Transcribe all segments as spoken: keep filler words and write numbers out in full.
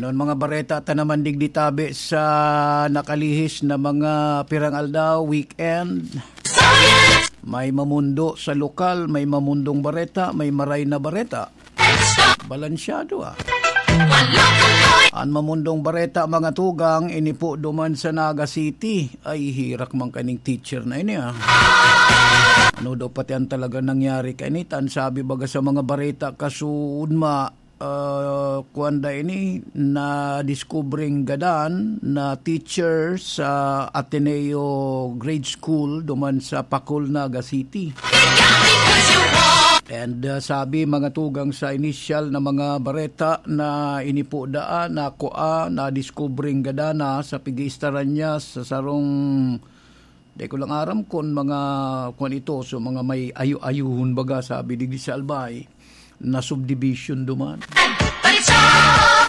Ang mga bareta ta naman digdi tabi sa nakalihis na mga pirang aldaw, weekend. May mamundo sa lokal, may mamundong bareta, may maray na bareta. Balansyado, ah. An mamundong bareta, mga tugang, ini po duman sa Naga City. Ay, hirak man kaning teacher na ini, ah. Ano daw pati ang talaga nangyari kaini? Tan sabi baga sa mga bareta, kasuodma, ah, kuwan da ini, nadiskubreng gadan na teacher sa Ateneo Grade School duman sa Pacol, Naga City. And, ah, sabi mga tugang sa inisyal na mga bareta na ini po daan, na kua, nadiskubreng gadan na sa pag-iistaran niya sa sarong, di ko lang aram kung mga, kung ito, so mga may ayo-ayuhon baga, sabi digdi sa Albay, na subdivision duman.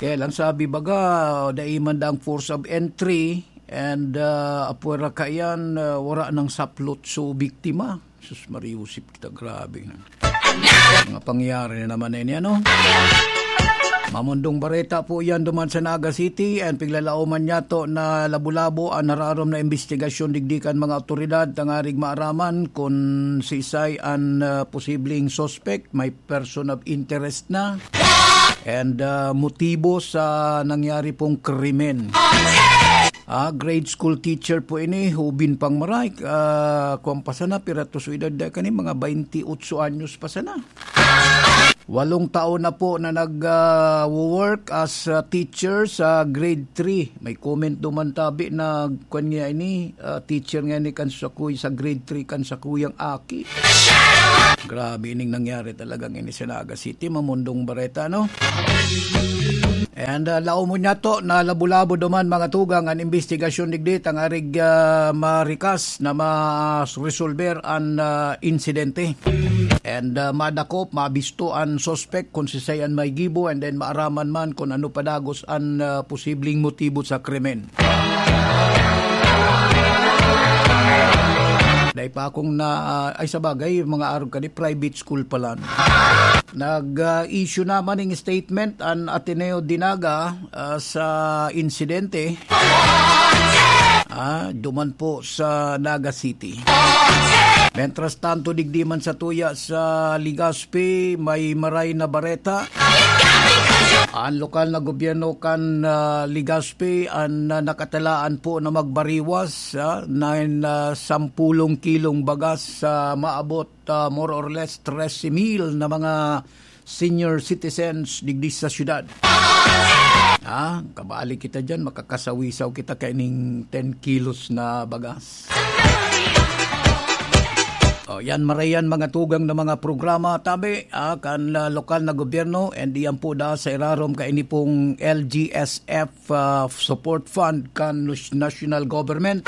Kaya lang sabi baga, dai man dang force of entry, and, ah, apwera kaiyan, ah, wala nang saplot so biktima. Sus, mariusip kita, grabe na. Mga pangyayari na naman na ini, ano? Mamundong bareta po yan duman sa Naga City, and piglalaoman niya to na labo-labo ang nararom na investigasyon digdi kan mga awtoridad tangarig maaraman kung siisay an, ah, posibleng suspect, may person of interest na, and, ah, motibo sa nangyari pong krimen. Ah, grade school teacher po ini, hubin pang maray, ah, kuwan pa sana, pirato so edad da kani, mga baynti otso anyos pa sana. Walong taon na po na nag, ah, wo-work as a teacher sa grade three. May comment duman tabi na kwan niya ini, ah, teacher nga ni kan sa kuy-, sa grade three kan sa kuyang aki. Grabe ining nangyari talagang ini sa Naga City, mamundong bareta, no? And, ah, laom mo niya to, na labo-labo duman mga tugang an investigasyon digdi, tangarig, ah, marikas na ma-resolver an, ah, insidente. And, ah, madakop, mabisto an suspect kung siisay an may gibo, and then maaraman man kung ano padagos an, ah, posibleng motibo sa krimen. Dai pa akong na, ah, ay, sa bagay, mga arog kani, private school pa lang. Nag, ah, issue naman ng statement an Ateneo de Naga, ah, sa insidente. Ah, duman po sa Naga City. Mientras tanto, digdi man sa tuya sa Legazpi, may maray na bareta. Ang lokal na gobyerno kan, ah, Legazpi, ang, ah, nakatalaan po na magbariwas, ah, na, na sampulong kilong bagas sa maabot, ah, more or less trese mil na mga senior citizens digdi sa syudad. Ah, kabali kita diyan, makakasawisaw kita kaining ten kilos na bagas. O, yan, marayan mga tugang na mga programa, tabi, ah, kan, ah, lokal na gobyerno, and iyan po da sa irarom kaini pong L G S F, ah, support fund kan nus-, national government.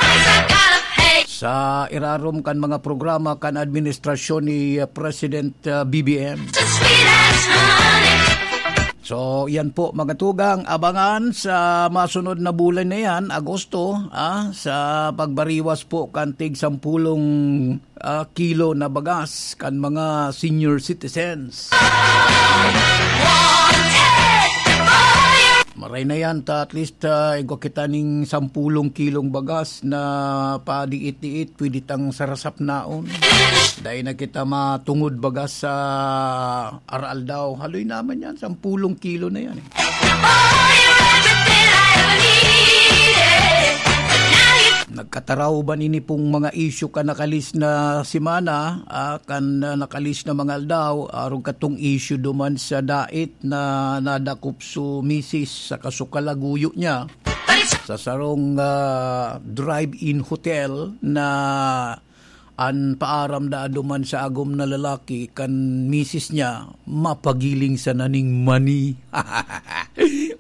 Sa irarom kan mga programa kan administrasyon ni, ah, President, ah, B B M. So, yan po, mga tugang, abangan sa masunod na bulan na yan, Agosto, ah, sa pagbariwas po kan tig sampulong, ah, kilo na bagas kan mga senior citizens. Maray na yan, ta at least, ah, igwa kita ning sampulong kilong bagas na padiit-diit, pwede tang sarasap naon. Dai na kita matungod bagas sa aral daw. Haloy naman yan, sampulong kilo na yan, eh. Nagkataraw ba nini pong mga issue kan nakalis na semana, ah, kan, ah, nakalis na mga aldaw, arog katong issue duman sa dait na nadakop so misis sa kasukalaguyo niya sa sarong, ah, drive-in hotel na an paaram da duman sa agom na lalaki kan misis niya, mapagiling sana ning mani.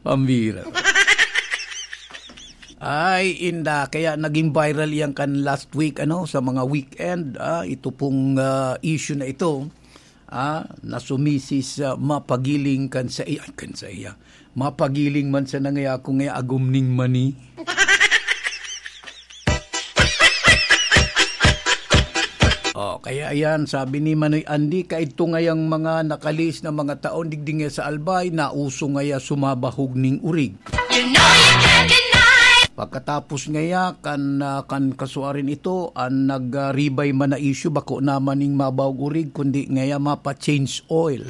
Pambira. Ay, inda. Kaya naging viral yan kan last week, ano, sa mga weekend, ah, ito pong, ah, issue na ito. Ah, na sumisis, ah, mapagiling kan sa iya, kan sa iya. Mapagiling man sa nangaya ako ngaya agom ning mani. Oh, kaya ayan, sabi ni Manoy Andy, kaidto ngayang mga nakalis na mga taon, digdi ngaya sa Albay, nauso ngaya sumabahog ning urig. Pagkatapos ngaya kan, ah, kan kasuarin ito, an nag, ah, ribay man na issue, bako naman ning mabaog orig, kundi ngaya mapa-change oil.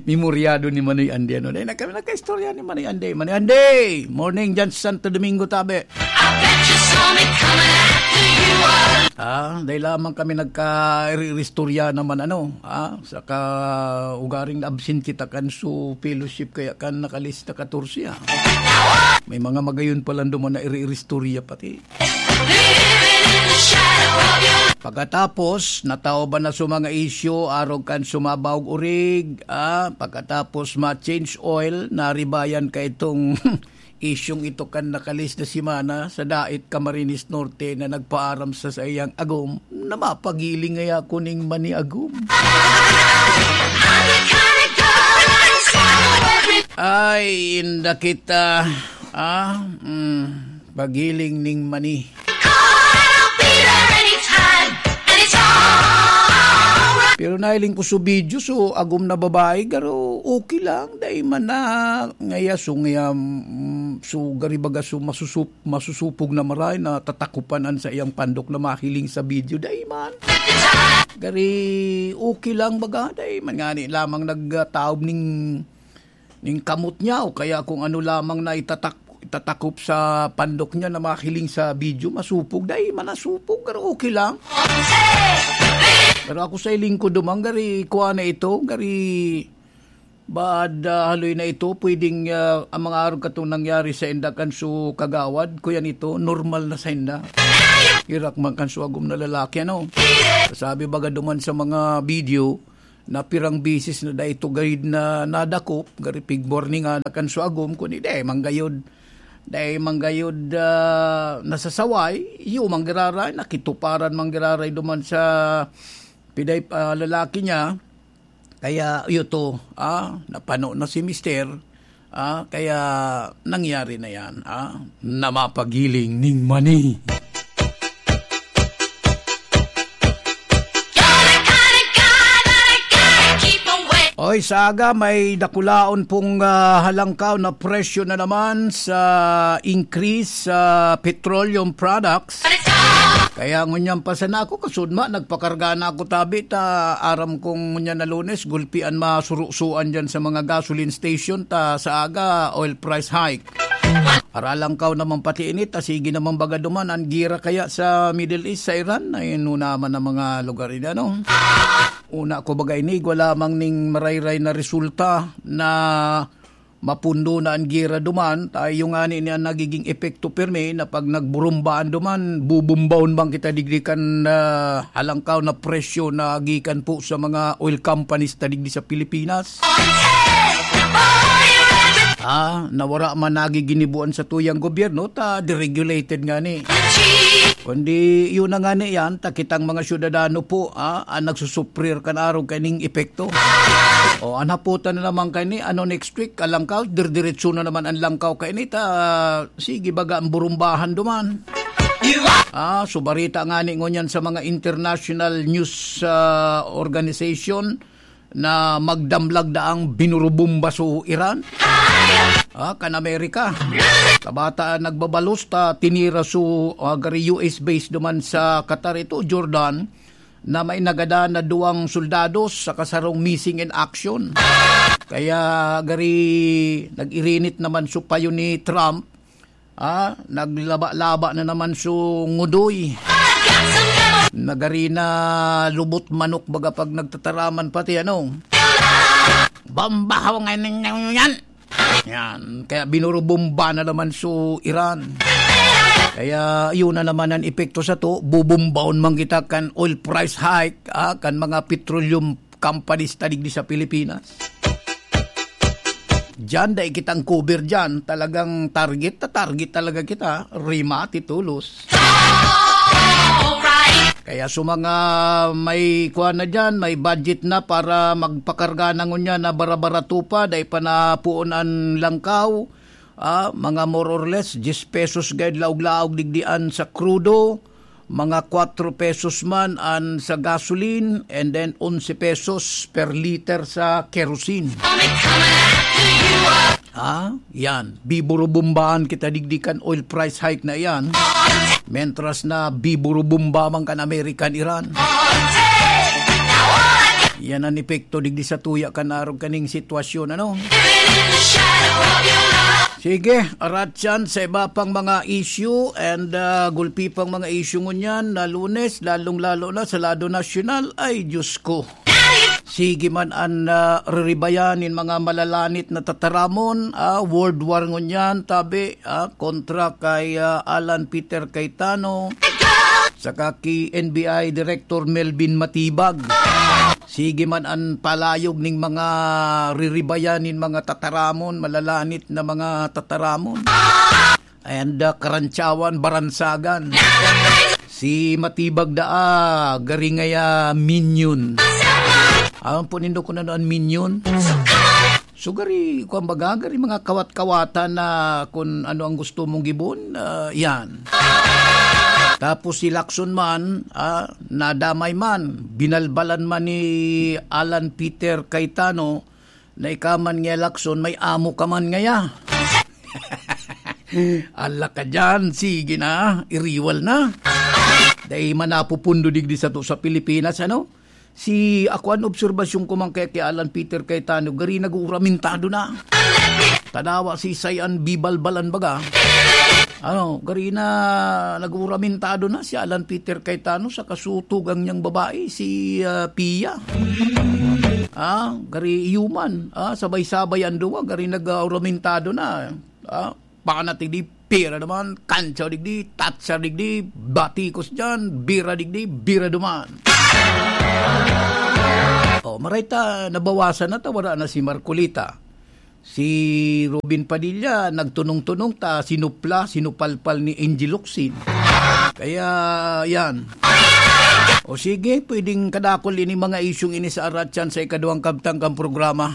Memoryado ni Manoy Andy, ano? Dahil na kami nagkaistorya ni Manoy Andy. Manoy Andy! Morning dyan sa Santo Domingo, tabi. I bet you saw me coming after you. Ah, dahil lamang kami nagka-iri-istorya naman, ano, ah, sa ka-, ugaring absent kita kan su fellowship, kaya kan nakalista katorse, ah. May mga magayon pa lang duman na iri-istorya pati. Pagkatapos, nataoban na su mga isyu, arog kan sumabaog orig, ah, pagkatapos ma-change oil, naribayan ka itong isyung ito kan nakalis na semana sa Dait, Camarines Norte na nagpaaram sa saiyang agom na mapagiling ngaya ako ning maniagom. Ay, inda kita, ah, mm, pagiling ning mani. Pero nahiling ko su video, su agom na babae, garo okay lang, dai man na ngaya su ngaya, mm, su gari baga su masusup-, masusupog na maray na tatakupan an saiyang pandok na mahiling sa video, dai man. Gari okay lang baga, dai man ngani lamang nagtaob ning ning kamot niya o kaya kung ano lamang na itatak-, itatakop sa pandok niya na mahiling sa video, masupog, dai man nasupog, pero okay lang. Pero ako sa hiling ko duman, gari kuha na ito, gari baad, ah, haloy na ito, pwedeng, ah, ang mga arog katong nangyari sa inda kan su kagawad, kuya nito, normal na sa inda. Irak man kan su agom na lalaki, ano? Sabi baga duman sa mga video, na pirang bisis na dai ito gayod na nadakop, gari pigmor ni nga na kan su agom, kundi dai man gayod, dai man gayod, ah, nasasaway, iyo man giraray, nakituparan man giraray duman sa piday, ah, lalaki niya. Kaya, iyo to, ah, napano na si mister, Ah, kaya nangyari na yan, ah, na mapagiling ning mani. Oy, sa aga, may dakulaon pong, ah, halangkaw na presyo na naman sa increase sa petroleum products. Kaya ngunyan pa sana ako, kasudma, nagpakarga na ako tabi, ta aram kong ngunyan na Lunes, gulpi an masurusuan dyan sa mga gasoline station, ta sa aga, oil price hike. Haralangkaw naman pati ini, ta sige naman baga duman, an gira kaya sa Middle East, sa Iran, ay nuna man ang mga lugar ini, ano? Una ko baga ini, igwa lamang ning marayray na resulta na mapundo na an gera duman, ta iyo ngani ni an nagiging epekto pirmi na pag nagburumbaan duman, bubumbahon man kita digdi kan, ah, halangkaw na presyo na gikan po sa mga oil companies ta digdi sa Pilipinas. Ah, na wara man nagiginibuan sa tuyang gobyerno, ta deregulated ngani. Kundi iyo na ngani yan, ta kitang mga syudadano po, ah, ang nagsusuprir kan arog kaning epekto. O, an haputan na naman kaini, ano next week, alangkaw, dirdiretso na naman an langkaw kaini, ta, sige, baga ang burumbahan duman. Ah, so barita ngani ngunyan sa mga international news, ah, organization na magdamlag daang binurubumba so Iran. Ah, kan Amerika. Kabata nagbabalos ta tinira so, ah, gari U S base duman sa Qatar ito, Jordan, na may nagadan na duwang soldados saka sarong missing in action. Kaya gari nag-irinit naman so payo ni Trump, ah, naglaba-laba na naman so ngudoy. Nagari na lubot manok baga pag nagtataraman pati ano. Bombahaw nga ning yan. Yan. Kaya binurubomba na naman so Iran. Kaya yun na naman ang epekto sa to. Bubombaon man kita kan oil price hike, ah, kan mga petroleum companies ta digdi sa Pilipinas. Diyan, dai kitang cover diyan. Talagang target na target talaga kita. Rimati tulos. Kaya sa mga may kuwan na diyan, may budget na para magpakarga na ngunyan na barabarato pa, dai pa napuon an langkaw, ah, mga more or less, diyes pesos guide laog-laog digdian sa krudo, mga kwatro pesos man an sa gasoline, and then onse pesos per liter sa kerosene. Ah, yan. Biburubumbahan kita digdi kan oil price hike na yan. Mentras na biburubumba man kan American Iran. Yan ang epekto digdi sa tuya kan arog kaning sitwasyon, ano? Sige, aratyan sa iba pang mga issue and, ah, gulpi pang mga issue ngunyan na Lunes, lalong-lalo na sa lado nasyonal. Ay, Diyos ko. Sige man an, ah, riribayan nin mga malalanit na tataramon, ah, world war ngunyan, tabi, ah, kontra kay, ah, Alan Peter Cayetano, saka ki N B I Director Melvin Matibag. Sige man an palayog ning mga riribayan nin mga tataramon, malalanit na mga tataramon. And, ah, karantsawan, baransagan. Si Matibag daa, gari ngaya minion. Aram po nindo kung ano an minion? So, gari, kung baga, gari mga kawat-kawatan na kung ano ang gusto mong gibon, ah, yan. Tapos si Lacson man, ah, nadamay man, binalbalan man ni Alan Peter Cayetano, na ika man ngaya, Lacson, may amo ka man ngaya. Ala ka dyan, sige na, iriwal na. Dai man napupundo digdi sato sa Pilipinas, ano? Si, ako, an obserbasyon ko man kaya ki Alan Peter Cayetano, gari nag-uuramentado na. Tadawa si Sayan bibalbalan baga. Ano, gari na nag-uuramentado na si Alan Peter Cayetano sa kasutugang niyang babae, si, ah, Pia. Ah, gari iyo man. Ah, sabay-sabay an duwa, gari nag-uuramentado na. Ah, panat digdi, pira naman, kantsa digdi, tatsa digdi, batikos diyan, bira digdi, bira duman. Oh, maray ta, nabawasan na ta, wala na si Marcolita. Si Robin Padilla, nagtunong-tunong ta, sinupla, sinupalpal ni Angie Locsin. Kaya, yan. O sige, pwedeng kadakol ini mga isyung ini sa aratyan sa ikaduhang kabtang kan programa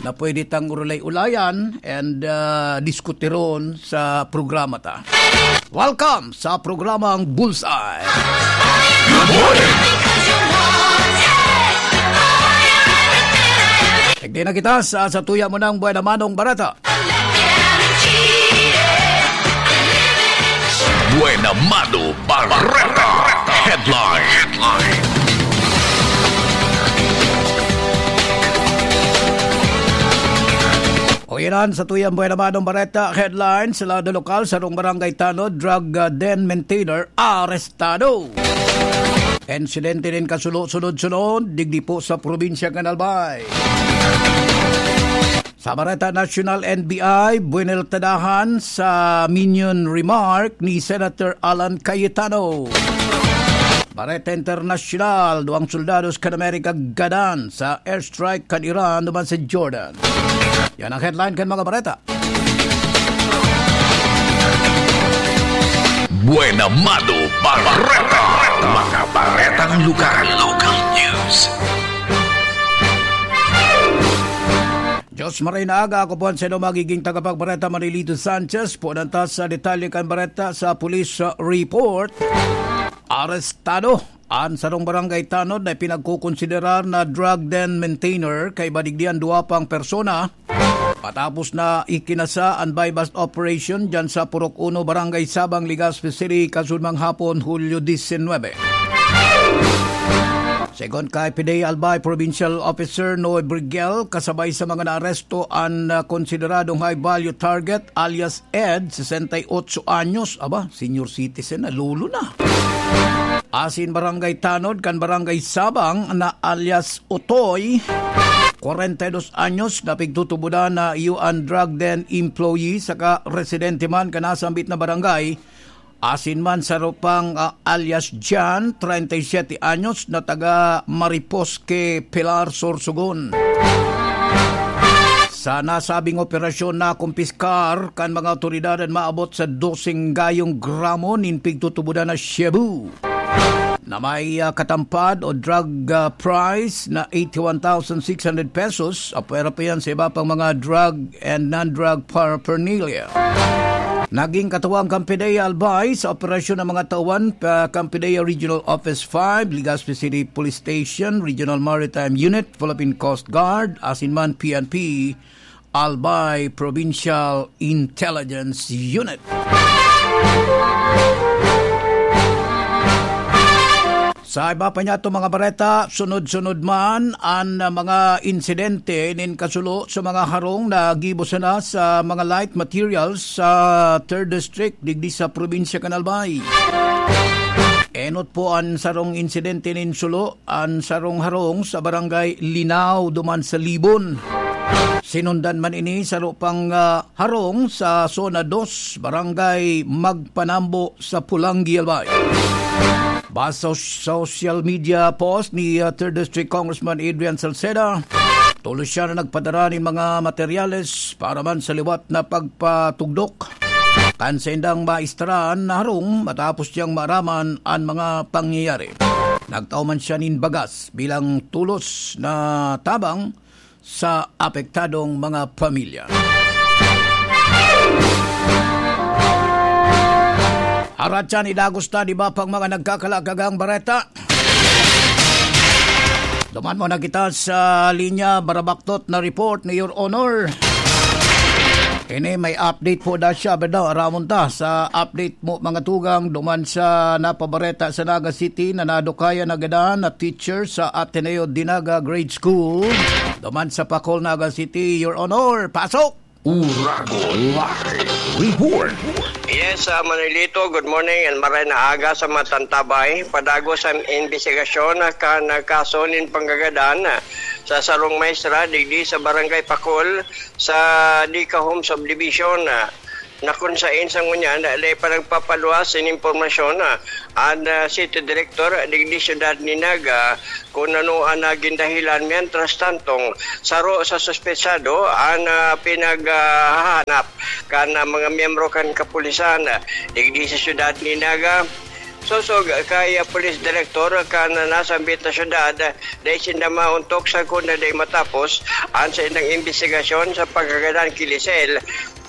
na pwede tang urulay-ulayan and, ah, diskutiron sa programa ta. Welcome sa programang Bullseye. Good morning! Nagdi na kita sa, sa tuya mo ng Buena Manong Barata. Buena Mano Bareta Headline. O, iyan sa tuyang Buena Mano Bareta Headline. Sa lado lokal, sarong barangay tanod, drug, ah, den maintainer, arestado. Insidente nin kasulo-sunod-sunod, digdi po sa probinsya kan Albay. Sa Bareta National, N B I, buwineltadahan sa minion remark ni Senator Alan Cayetano. Bareta International, duwang soldados kan Amerika gadan sa airstrike kan Iran duman sa Jordan. Yan ang headline kan mga bareta. Buena Mano Bareta. Mga baretang lugar. Local news. Diyos maray na aga, ako po ang sino magiging tagapagbareta, Manilito Sanchez. Punan ta sa detalye kan bareta sa police, uh, report. Arestado an sarong barangay tanod na pinagkokonsiderar na drug den maintainer kaiba digdi an duwa pang persona. Matapos na ikinasa an buy-bust operation dyan sa Purok Uno, Barangay Sabang, Legazpi City, kasunmang hapon, Hulyo disinwebe. Segun kay P D A Albay Provincial Officer Noe Brigel, kasabay sa mga naaresto an, ah, konsideradong high value target alias Ed, sesenta y ocho anyos. Aba, senior citizen na, lolo na. Asin Barangay Tanod kan Barangay Sabang na alias Utoy, kwarenta y dos anyos, na pigtutubodan na iyo an drug den employee saka residente man kan nasambit na barangay. Asin man saro pang, ah, alias Jan, treinta y siete anyos, na taga Mariposque, Pilar, Sorsogon. Sa nasabing operasyon, nakumpiskar kan mga awtoridad an maabot sa doseng gayong gramo nin pigtutubodan na shabu na may, ah, katampad o drug, ah, price na eighty-one thousand six hundred pesos. Apwera pa yan sa iba pang mga drug and non-drug paraphernalia. Naging katuwang kan P D A Albay sa operasyon ng mga tauhan pa kan P D A Regional Office five, Legazpi City Police Station, Regional Maritime Unit, Philippine Coast Guard, asin man P N P, Albay Provincial Intelligence Unit. Sa iba pa niyato mga bareta, sunod-sunod man an mga insidente nin kasulo sa mga harong na gibo sana sa mga light materials sa third District digdi sa probinsya kan Albay. Enot po an sarong insidente nin sulo, an sarong harong sa Barangay Linao duman sa Libon. Sinundan man ini saro pang, ah, harong sa Zona dos, Barangay Magpanambo sa Pulanggi, Albay. Base sa social media post ni, ah, third District Congressman Adrian Salceda, tolos siya na nagpadara nin mga materyales para man sa liwat na pagpatugdok kan saindang maestra na harong matapos niyang maaraman an mga pangyayari. Nagtao man siya nin bagas bilang tolos na tabang sa apektadong mga pamilya. Arat siya ni Dagusta, di ba, pang mga nagkakalakagang bareta? Duman mo na kita sa linya, barabaktot na report ni Your Honor. Ini may update po da siya, beda, aramon ta sa update mo, mga tugang, duman sa napabareta sa Naga City na nadukayan na gadan na teacher sa Ateneo de Naga Grade School. Duman sa Pacol, Naga City, Your Honor, pasok! Uragon Live Report. Yes, ah, Manolito, good morning and maray na aga sa mga tantabay. Padagos ang imbestigasyon na kan kaso nin panggagadan, ah, sa sarong maestra digdi sa Barangay Pacol sa Dica Home Subdivision, ah, na kun sain sa ngunyan, ah, dai pa nagpapaluwas nin impormasyon, ah, an, ah, City Director digdi siyudad ni Naga, kun ano an nagin dahilan. Mientras tantong, saro sa suspetsado an, ah, pinaghahanap kan, ah, mga miyembro kan kapulisan, ah, digdi sa siyudad ni Naga. Sosog kay, ah, Police Director kan nasambit na syudad, ah, dai sinda maontok sagkod na dai matapos an saindang imbestigasyon sa pagkagadan ki Lisel,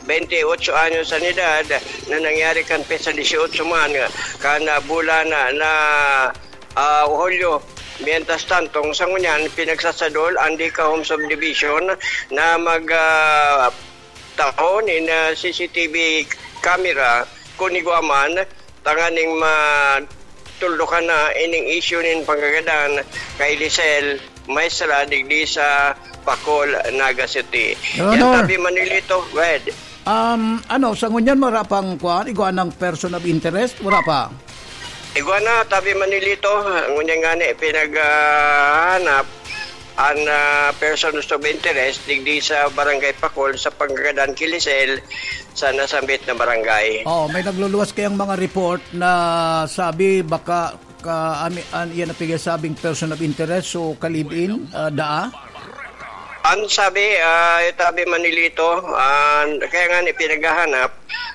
bente ocho anyos an edad, na nangyari kan petsa dieciocho man kan, ah, bulan na, na, ah, Hulyo. Mientras tanto, sa ngunyan, pinagsasadol an Dica Home Subdivision na mag, ah, taho nin, ah, C C T V camera kun igwa man, tanganing matuldukan na ining isyu nin panggagadan kay Lisel Maestra digdi sa Pacol, Naga City. Your Yan Honor. Tabi, Manolito. Go ahead. Um, ano, sa ngunyan, wala pang, kuwan, igwa ng person of interest? Wala pa? Igwa na, tabi, Manolito. Ngunyan nga ni, pinaghahanap an, ah, persons of interest digdi sa Barangay Pacol sa panggagadan ki Lisel sa nasambit na barangay. Oh, may nagluluwas kayang mga report na sabi baka ka, ami, an, iyan ang pigasabing person of interest, so ka-live-in, ah, daa? An sabi, ah, tabi, Manolito, ah, kaya nga ni pinaghahanap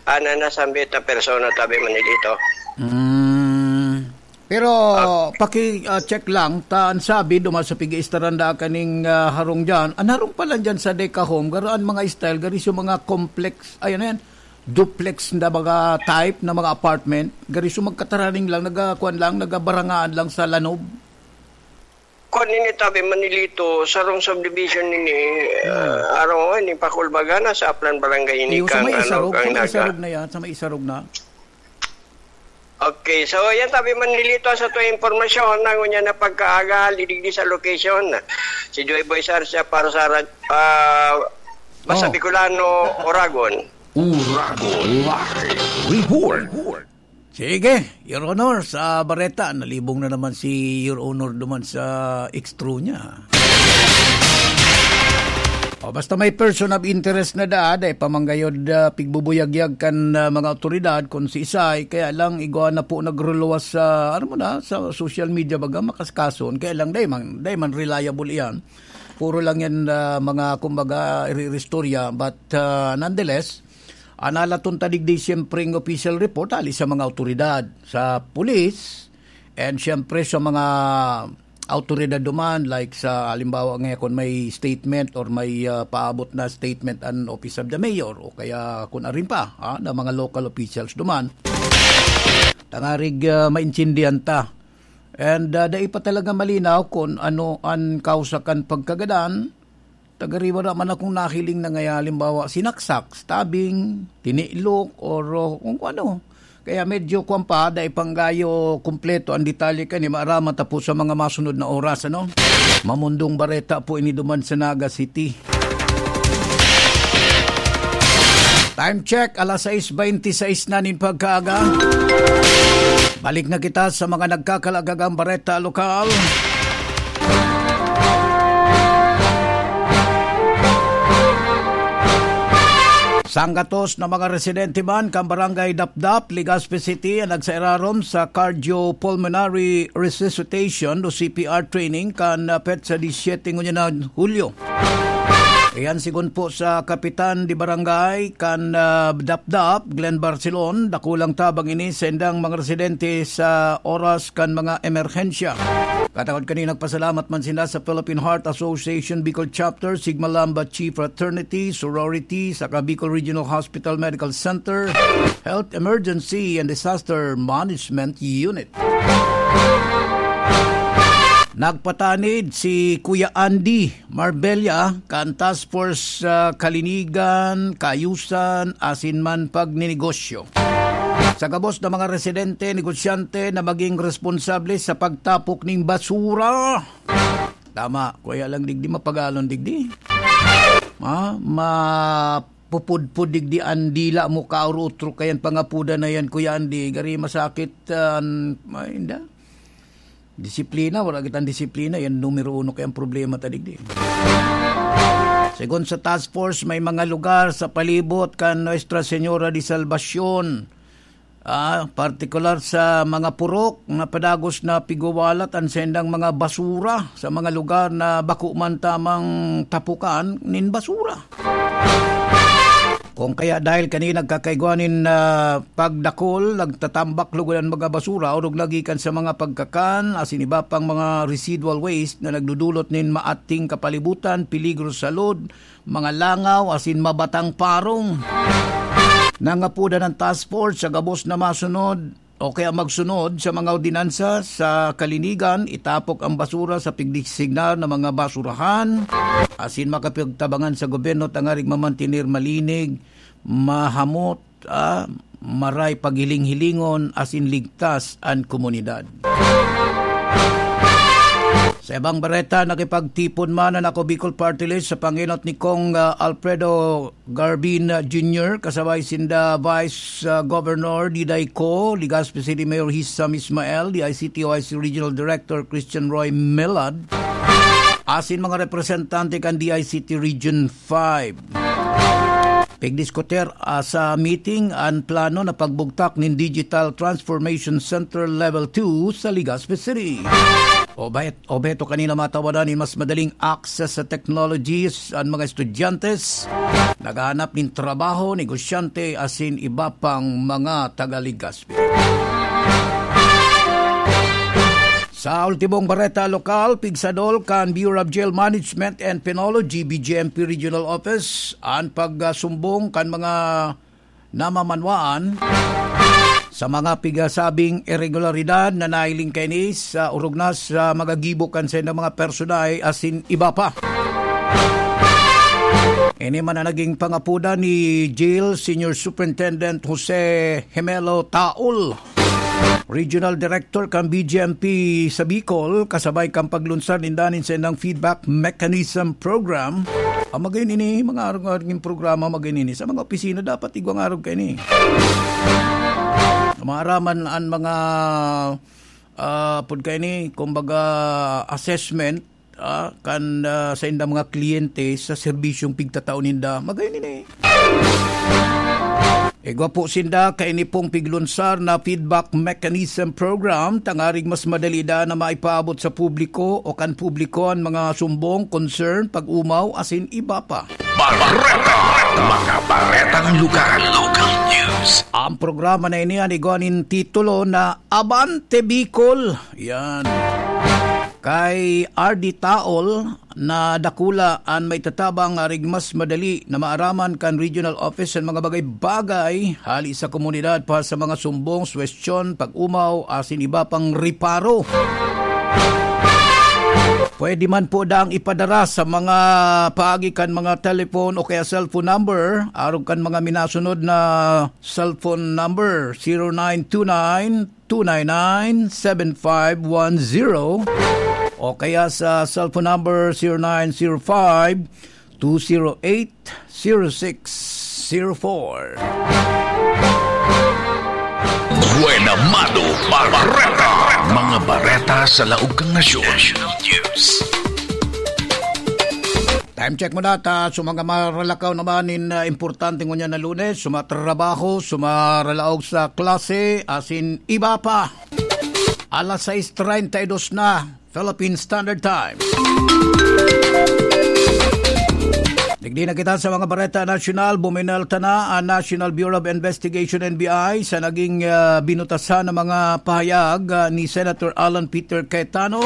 an, ah, nasambit na persona, tabi, Manolito. Mm. Pero Ah. paki, ah, check lang, ta an sabi, duman sa pig-iistaranda kaning, ah, harong diyan. An harong pala diyan sa Deca Home, garo an mga style, garo sa mga complex, ayan na yan, duplex na mga type na mga apartment, garo sa magkataraning lang, nagakuan lang, nagabarangaan lang sa lanob. Kuan nini, tabi, Manolito, sarong subdivision nini, Hmm. ah, arong, oh, ni Pakulbaga na sa Aplan Barangay ini Iyo, sa kang, may ano, isarog, sa kang may Naga. Isarog na yan, sa may isarog na. Okay, so yan, tabi, Manolito, sa tuwing impormasyon na ngunyan na pagkaaga, lidigdi sa location. Si Joy Boy Sarsia para sa rad-, ah, Basta Oh. Bicolano, Oragon. Uragon Live Report. Sige, Your Honor, sa bareta, nalibong na naman si Your Honor duman sa extro niya. O, basta may person of interest na daa, dai pa man gayod, ah, pigbubuyagyag kan, ah, mga awtoridad kung siisay, kaya lang igwa na po nagruluwas sa, ano mo na, sa social media baga, makaskason, kaya lang dai man, dai man reliable iyan. Puro lang yan, ah, mga, kumbaga, iriristorya, but, ah, nonetheless, an alaton ta digdi, siyempre, ang official report, hali sa mga awtoridad, sa pulis, and siyempre sa mga awtoridad duman, like sa halimbawa nga kung may statement or may, ah, paabot na statement an Office of the Mayor o kaya kung arin pa, ah, na mga local officials duman. Tangarig, ah, maintindihan ta. And, ah, dai pa talaga malinaw kung ano an kausa kan pagkagadan. Tagariwa naman akong nahiling na ngaya, halimbawa, sinaksak, stabbing, tiniklok, or, uh, kung ano. Kaya medyo kwan pa, dai panggayo kumpleto ang detalye kani, maaraman ta po sa mga masunod na oras, ano? Mamundong bareta po ini duman sa Naga City. Time check, alas sais bente sais na nin pagkaaga. Balik na kita sa mga nagkakalagagang bareta lokal. Sanggatos na mga residente man kan Barangay Dapdap, Legazpi City, ang nagsairarom sa cardiopulmonary resuscitation o C P R training kan, ah, petsa disyete ngunyan na Hulyo. Iyan sigon po sa Kapitan de Barangay kan, ah, Dapdap, Glenn Barcelon, dakulang tabang ini sa indang mga residente sa oras kan mga emerhensya. Katakod kani, nagpasalamat man sila sa Philippine Heart Association Bicol Chapter, Sigma Lambda Chi Fraternity, Sorority, saka Bicol Regional Hospital Medical Center, Health Emergency and Disaster Management Unit. Nagpatanid si Kuya Andy Marbella kan Task Force sa Kalinigan, Kaayusan, asin man Pagninegosyo. Sa gabos na mga residente, negosyante na maging responsable sa pagtapok ning basura. Tama, kuya lang digdi, mapagalon digdi. Ha? Mapupudpud digdi ang dila mo, kaurutro kayan pangapudan na yan, Kuya Andy. Gari masakit, ah, an-, ay, inda. Disiplina, wala kitang disiplina. Yan numero uno kayang problema ta digdi. Segun sa task force, may mga lugar sa palibot kan Nuestra Señora de Salvacion. Ah, partikular sa mga purok na padagos na pigwawalat an saindang mga basura sa mga lugar na bako man tamang tapukan nin basura. Kung kaya dahil kani nagkakaigwa nin, ah, pagdakol, nagtatambak lugod an mga basura, orog na gikan sa mga pagkakan, asin iba pang mga residual waste na nagdudulot nin maating kapalibutan, peligro sa salud, mga langaw, asin mabatang parong. Nangapodan ang task force sa gabos na masunod o kaya magsunod sa mga ordinansa sa kalinigan, itapok ang basura sa pigdesignar na mga basurahan, asin makapagtabangan sa gobyerno tangarig mamantener malinig, mahamot, ah, maray paghiling-hilingon, asin ligtas an komunidad. Sa ibang bareta, nakipagtipon man an Ako Bicol Party List sa pangenot ni Cong, ah, Alfredo Garbin Junior, kasabay sinda Vice, ah, Governor Diday Co, Legazpi City Mayor Hisham Ismael, D I C T O I C Regional Director Christian Roy Melad, asin mga representante kan D I C T Region five. Pigdiskutir, ah, sa meeting an plano na pagbugtak nin Digital Transformation Center Level two sa Legazpi City. Obhet-, obheto kanina matawadan nin mas madaling access sa technologies an mga estudyante, naghahanap nin trabaho, negosyante, asin iba pang mga taga-Legazpi. Sa ultimong bareta lokal, pigsadol kan Bureau of Jail Management and Penology, B J M P Regional Office, an pagsumbong kan mga namamanwaan sa mga pigasabing iregularidad na nahiling kaini sa orog na sa mga gibo kan saindang mga personahe asin iba pa. Ini man ang naging pangapodan ni Jail Senior Superintendent Jose Gemelo Taol, Regional Director kan B J M P sa Bicol, kasabay kan paglunsad ninda nin saindang feedback mechanism program. Ang magayon ini, mga arog-arog nin programa, magayon ini. Sa mga opisina, dapat igwang arog kaini. Maaraman an mga, ah, pud kaini, kumbaga, assessment, ah, kan, ah, saindang mga kliyente sa serbisyong pigtatao ninda. Magayon ini. Igwa po sinda kaini pong piglunsar na feedback mechanism program, tangarig mas madali da na maipaabot sa publiko o kan publiko an mga sumbong, concern, pag-umaw, asin iba pa. Bareta, mga baretang lugar, local news. Ang programa na ini an igwa nin titulo na Abante Bicol. Yan. Kay R D Taol na dakula an maitatabang arig mas madali na maaraman kan regional office an mga bagay-bagay hali sa komunidad pa sa mga sumbong, suwestyon, pag-umaw, asin iba pang reparo. Pwede man po dang ipadara sa mga paagi kan mga telephone o kaya cellphone number, arog kan mga minasunod na cellphone number, zero nine two nine, two nine nine, seven five one zero, o kaya sa cellphone number, zero nine zero five, two zero eight, zero six zero four. Buena Mano Bareta. Mga bareta sa laog kan nasyon. National News. Time check mo data. So, mga maralakaw naman nin, ah, importante ngunyan na Lunes, sumatrabaho, sumaralaog sa klase, asin iba pa. Alas sais treinta y dos na. Philippine Standard Time. Digdi na kita sa mga bareta nasyonal. Buminalta na ang National Bureau of Investigation, N B I, sa naging, ah, binutasan na mga pahayag, ah, ni Senator Alan Peter Cayetano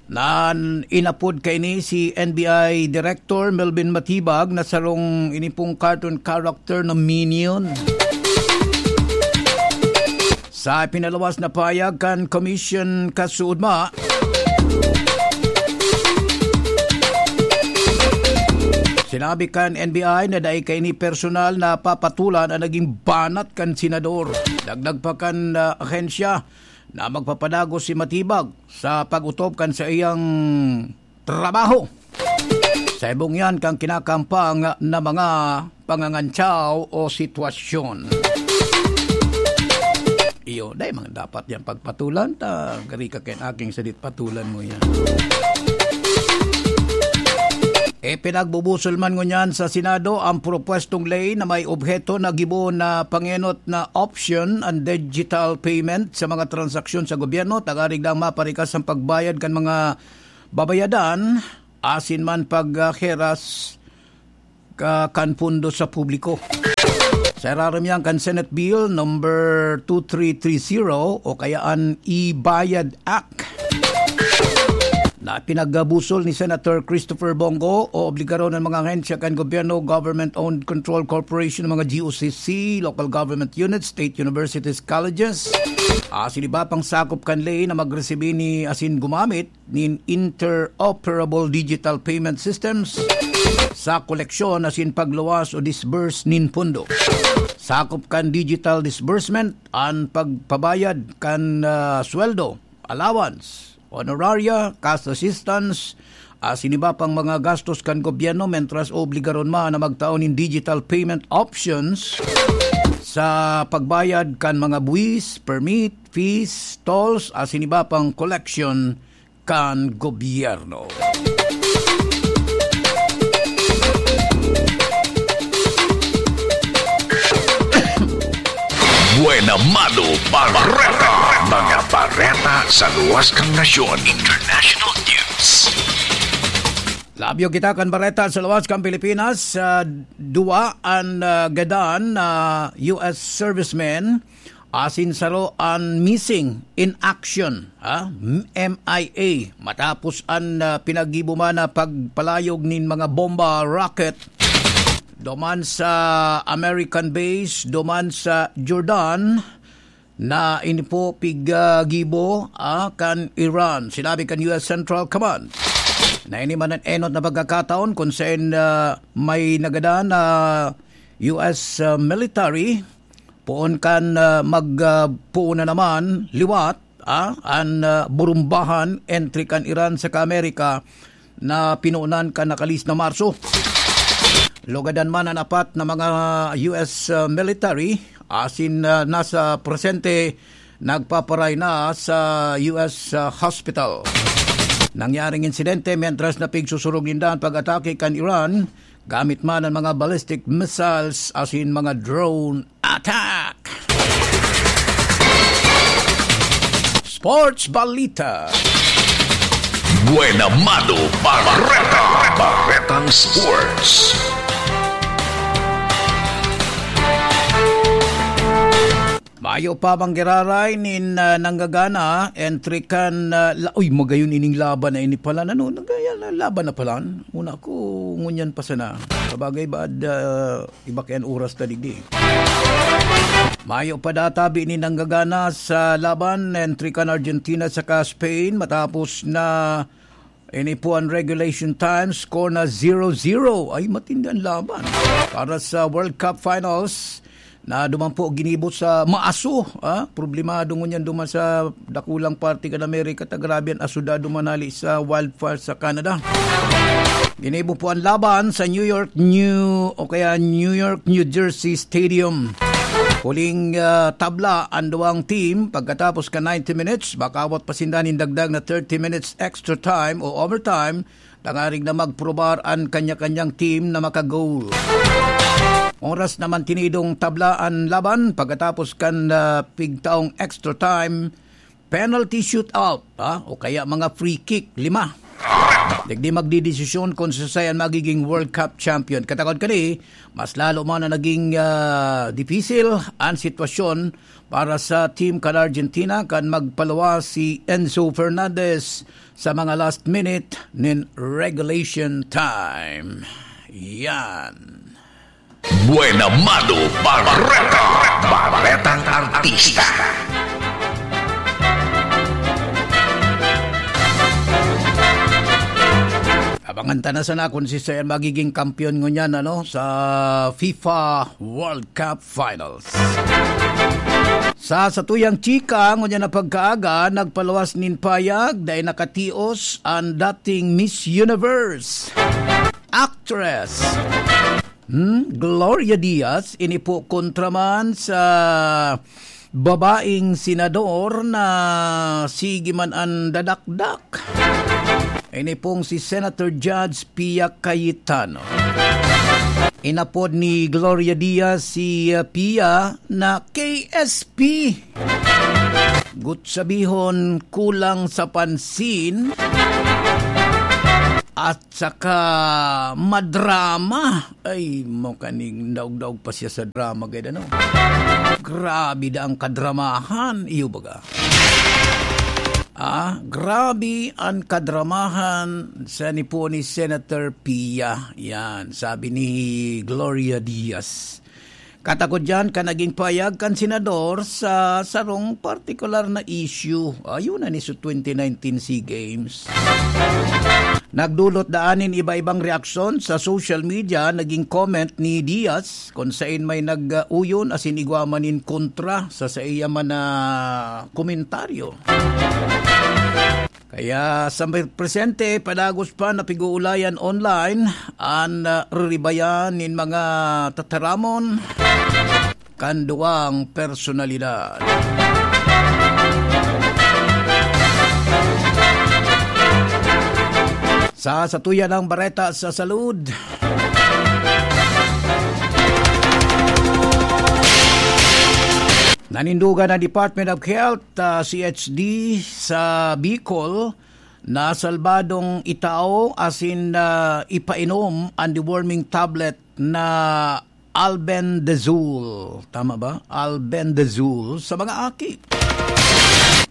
na inapod kaini si N B I Director Melvin Matibag na sarong inipong cartoon character na Minion. Sa pinaluwas na pahayag kan Commission kasuodma, sinabi kan N B I na dai kaini personal na papatulan ang naging banat kan senador. Dagdag pa kan, ah, ahensya na magpapadagos si Matibag sa pag-utop kan saiyang trabaho sa ibong yan kan kinakampang na mga pangangantyaw o sitwasyon. Iyo, dai man dapat yan pagpatulan, ta gari ka kan aking sadit patulan mo yan. E, pinagbubusol man ngunyan sa Senado ang propwestong ley na may obheto na gibo na pangenot na option ang digital payment sa mga transaksyon sa gobyerno, tangarig lang maparikas ang pagbayad kan mga babayadan asin man pagheras ka, kan pondo sa publiko. Sa irarom yan kan Senate Bill number two three three zero o kaya an e-Bayad Act na pinagbusol ni Senator Christopher Bong Go, obligaron ang mga ahensya kan gobyerno, government-owned control corporation, mga G O C C, local government units, state universities, colleges, asin iba pang sakop kan ley na magresibi ni asin gumamit nin interoperable digital payment systems sa koleksyon asin pagluwas o disburse nin pondo. Sakop kan digital disbursement an pagpabayad kan, ah, sweldo, allowance, honoraria, cash assistance, asin iba pang mga gastos kan gobyerno, mentras obligaron man na magtao nin digital payment options sa pagbayad kan mga buwis, permit, fees, tolls, asin iba pang collection kan gobyerno. Buena Mano Bareta. Mga bareta sa luwas kan nasyon. International News. Labyo kita kan bareta sa luwas kan Pilipinas. Sa duwa an, ah, gadan na U S servicemen asin saro an missing in action, ha? M I A, matapos an, ah, pinaggibo man na pagpalayog nin mga bomba rocket duman sa American base, duman sa Jordan, na ini po piggibo, ah, kan Iran. Sinabi kan U S Central Command na ini man an enot na pagkakataon kun saen, ah, may nagadan na U S, ah, military poon kan, ah, mag, ah, poon na naman liwat, ah, an, ah, burumbahan entre kan Iran saka Amerika na pinoonan kan nakalis na Marso. Lugadan man an apat na mga U S, ah, military asin, ah, nasa presente nagpaparay na sa U S, ah, hospital. Nangyaring insidente mentras na pigsusurog ninda an pag-atake kan Iran gamit man an mga ballistic missiles asin mga drone attack. Sports Balita. Buena Mano Bareta. Baretang Sports. Mayo pa manggiraray nin, ah, nanggagana, entre kan, ah, la-, uy, magayon ining laban na ini pala, ano, nagaya na laban na pala. Una ko, ngunyan pa sana. Sabagay, baad, ah, iba kaya an oras ta digdi. Mayo pa databi nin nanggagana sa laban, entre kan Argentina saka Spain, matapos na Ini po ang regulation time, score na zero zero. Ay, matindi ang laban. Para sa World Cup Finals, na duman po ginibo sa maaso, ah. Problemado ngunyan duman sa dakulang parte kan Amerika, ta grabe an aso da duman hali sa wildfire sa Canada. Ginibo po ang laban sa New York, New, o kaya New York, New Jersey Stadium. Huling, ah, tabla ang duwang team pagkatapos ka ninety minutes, makawat pa sinda nin dagdag na thirty minutes extra time o overtime, tangarig na magprobar an kanya-kanyang team na maka-goal. Oras naman tinidong tabla an laban pagkatapos kan, ah, pigtaong extra time, penalty shootout, ha? O kaya mga free kick, lima. Digdi magdidesisyon kung sisay ang magiging World Cup champion. Katakod kani, mas lalo man na naging, ah, dipisil ang sitwasyon para sa team kan Argentina kan magpaluwas si Enzo Fernandez sa mga last minute nin regulation time. Yan. Buena Mano Bareta, Baretang Artista. Abangan ta na sana kung sisay ang magiging kampiyon ngunyan, ano, sa FIFA World Cup Finals. Sa satuyang chika, ngunyan na pagkaaga, nagpaluwas nin payag, dahil nakatios ang dating Miss Universe actress, hmm, Gloria Diaz, ini po kontra man sa babaeng senador na sige man an dadakdak. Ini pong si Senator Judge Pia Cayetano. Inapod ni Gloria Diaz si, uh, Pia na K S P. Gut sabihon, kulang sa pansin at saka madrama. Ay, mo kaning daog-daog pa siya sa drama, gayda, no? Grabe da ang kadramahan, iyo baga. Ah, grabe ang kadramahan sa ni po ni Senator Pia. Yan, sabi ni Gloria Diaz. Katakod diyan kan naging payag kan senador sa sarong partikular na issue. Ayun na ni sa twenty nineteen SEA Games. Nagdulot daan nin iba-ibang reaksyon sa social media, naging comment ni Diaz, kung sain may nag-uyon asin igwa man nin kontra sa saiya man na komentaryo. Kaya sa may presente, padagos pa na pig-uulayan online an, ah, riribayan nin mga tataramon kan duwang personalidad. Sa satuya ng bareta sa salud, nanindugan ang Department of Health, ah, C H D sa Bicol na salbadong itao asin, ah, ipainom ang deworming tablet na albendazole. Tama ba? Albendazole sa mga aki.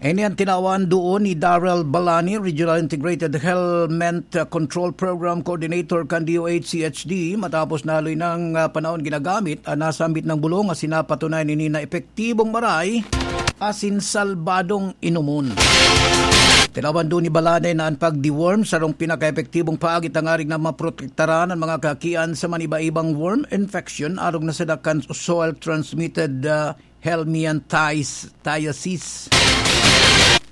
Ini ang tinawan doon ni Daryl Balani, Regional Integrated Helmet Control Program Coordinator kan D O H C H D, matapos na haloy ng, ah, panahon ginagamit ang nasambit ng bulong asin napatunay nini na epektibong maray asin salbadong inomon. Tinawan doon ni Balani na ang pag-deworm sarong pinakaepektibong paagi tangarig na maprotektaran ang mga kakian sa maniba-ibang worm infection arog na sa dakan soil-transmitted, ah, helminthiosis.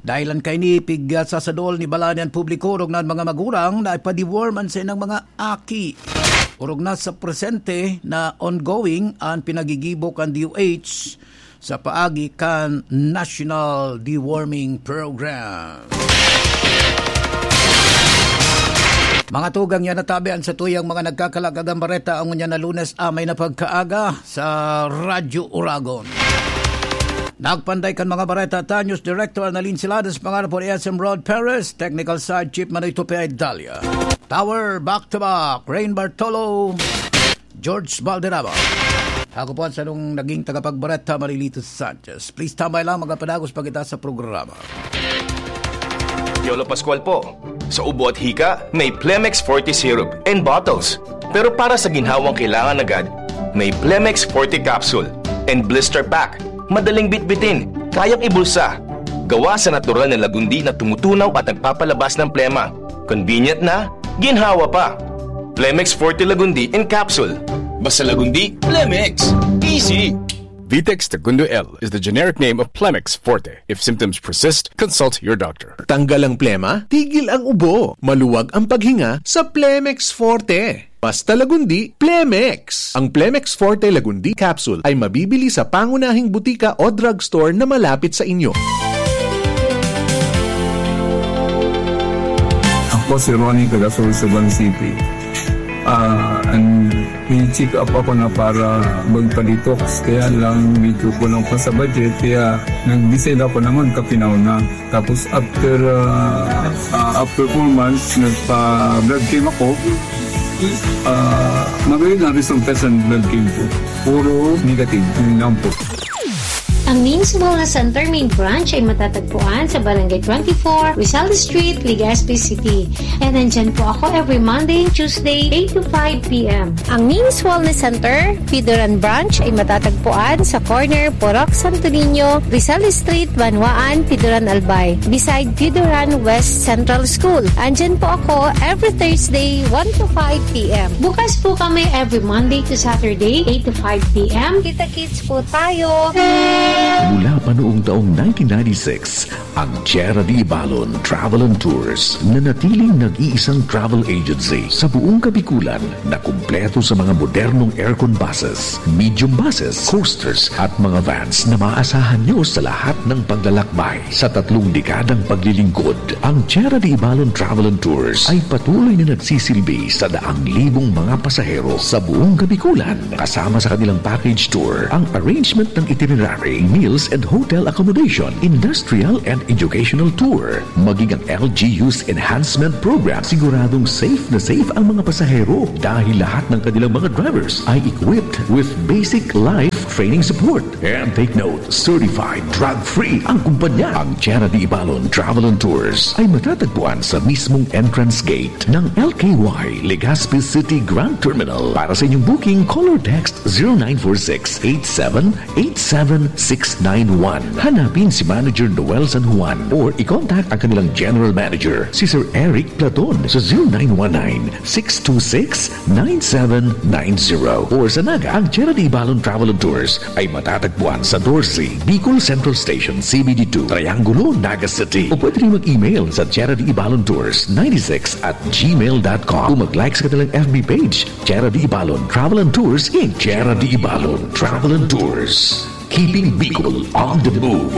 Dahilan kaini, pigsasadol ni Balani an publiko, orog na an mga magurang na ipa-deworm an saindang mga aki. Orog na sa presente na ongoing an pinagigibo kan D O H sa paagi kan National Deworming Program. Mga tugang, yan natabi an satuyang mga nagkakalagagang bareta ang ngunyan na Lunes, amay na pagkaaga sa Radyo Oragon. Nagpanday kan mga bareta, Tanyos Director Annalyn Siladas, pangalan po ni S M Rod Perez, Technical Side Chief Manoy Tupe Dalia. Tower, back to back, Rain Bartolo, George Valderrama. Ako po ang sarong naging tagapagbareta, Marilito Sanchez. Please tambay lang, magapadagos pa kita sa programa. Yolo Pascual po. Sa ubo at hika, may Plemex Forte Syrup and bottles. Pero para sa ginhawang kailangan agad, may Plemex Forte Capsule and Blister Pack. Madaling bitbitin, kayang ibulsa. Gawa sa natural na lagundi na tumutunaw at nagpapalabas ng plema. Convenient na, ginhawa pa. Plemex Forte Lagundi in capsule. Basta Lagundi, Plemex. Easy. Vitex Tagundo L is the generic name of Plemex Forte. If symptoms persist, consult your doctor. Tanggal ang plema, tigil ang ubo. Maluwag ang paghinga sa Plemex Forte. Basta Lagundi, Plemex. Ang Plemex Forte Lagundi Capsule ay mabibili sa pangunahing butika o drugstore na malapit sa inyo. Ako si Ronnie, taga Sorsogon City. Ah, and may check up ako na para magpa-detox, kaya lang medyo kulang pa sa budget, kaya nag-decide ako na magkapinaw na. Tapos after, ah, ah, after four months, nagpa-blood chem ako. Ah, magayon ang resulta sa blood chem ko. Puro negative, yun lang po. Ang Names Wellness Center Main Branch ay matatagpuan sa Barangay twenty-four, Rizal Street, Legazpi City. And nandyan po ako every Monday and Tuesday, eight to five p.m. Ang Names Wellness Center, Pidoran Branch ay matatagpuan sa corner Purok Santo Niño, Rizal Street, Banwaan, Pidoran Albay, beside Pidoran West Central School. Andyan po ako every Thursday, one to five p.m. Bukas po kami every Monday to Saturday, eight to five p.m. Kita-kits po tayo! Mula pa noong taong nineteen ninety-six, ang Tierra de Ibalon Travel and Tours nanatiling nag-iisang travel agency sa buong Kabikulan na kumpleto sa mga modernong aircon buses, medium buses, coasters at mga vans na maaasahan nyo sa lahat ng paglalakbay. Sa tatlong dekadang paglilingkod, ang Tierra de Ibalon Travel and Tours ay patuloy na nagsisilbi sa daang libong mga pasahero sa buong Kabikulan. Kasama sa kanilang package tour ang arrangement ng itinerary, meals and hotel accommodation, industrial and educational tour, maging ang L G U's enhancement program. Siguradong safe na safe ang mga pasahero dahil lahat ng kanilang mga drivers ay equipped with basic life training support. And take note, certified drug-free ang kumpanya. Ang Tierra de Ibalon Travel and Tours ay matatagpuan sa mismong entrance gate ng L K Y Legazpi City Grand Terminal. Para sa inyong booking, call or text zero nine four six eight seven eight seven six nine one. Hanapin si Manager Noel San Juan or i-contact ang kanilang General Manager, si Sir Eric Platon, sa zero nine one nine six two six nine seven nine zero. Or sa Naga, ang Tierra de Ibalon Travel and Tours ay matatagpuan sa doce Bicol Central Station, C B D two, Triangulo, Naga City. O pwede rin mag-email sa Tierra de Ibalon Tours ninety-six at gmail dot com o mag-like sa kanilang F B page, Tierra de Ibalon Travel and Tours, Inc. Tierra de Ibalon Travel and Tours. Keeping Bicol on the move.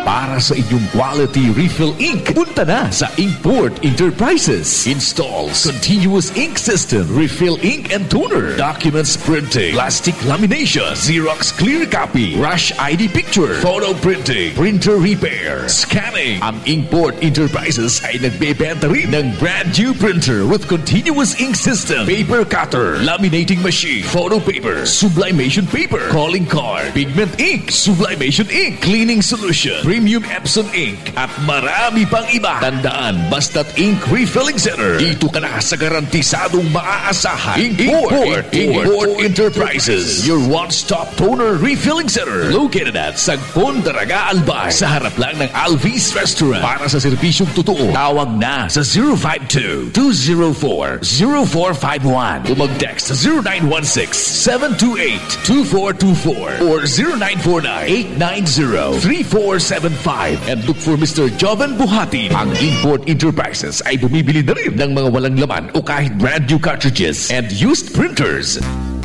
Para sa inyong quality refill ink, punta na sa Inkport Enterprises. Installs continuous ink system, refill ink and toner, documents printing, plastic lamination, Xerox clear copy, rush I D picture, photo printing, printer repair, scanning. Ang Inkport Enterprises ay nagbebenta rin ng brand new printer with continuous ink system, paper cutter, laminating machine, photo paper, sublimation paper, calling card, pigment ink, sublimation ink, cleaning solution, premium Epson ink, at marami pang iba. Tandaan, basta't ink refilling center, dito ka na sa garantisadong maaasahan. Import, Import, Import Enterprises, your one-stop toner refilling center, located at Sagpon, Daraga, Albay, sa harap lang ng Alvis Restaurant. Para sa serbisyong totoo, tawag na sa zero five two, two zero four, zero four five one o mag-text sa zero nine one six, seven two eight, two four two four or zero nine four nine, eight nine zero, three four seven five and look for Mister Joven Buhati. Ang Import Enterprises ay bumibili na rin ng mga walang laman o kahit brand new cartridges and used printers.